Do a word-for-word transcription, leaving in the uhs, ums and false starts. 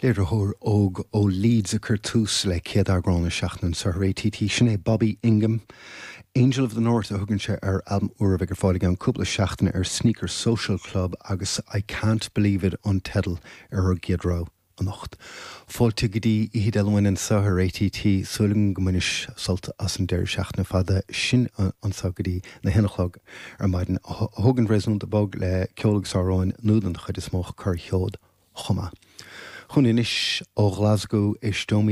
Léiritheoir óg ó Leeds a chuir tús le céad eagrán na seachtaine anseo ar ATT sin é Bobby Ingham. Angel of the North a thugann sé ar albam úr a bheidh ar fáil i gceann cúpla seachtaine ar Sneaker Social Club agus I Can't Believe It an teideal ar an gcéad rogha anocht. Fáilte go dtí Oíche Dé Luain anseo ar ATT súil go mbainfidh sibh sult as an deireadh seachtaine fada sin anseo go dtí a haon a chlog ar maidin a thugann réasúnta bog le ceol agus amhráin nua den chuid is mó corrsheod chomh maith. Chun anois ó Glasgow éisteoimid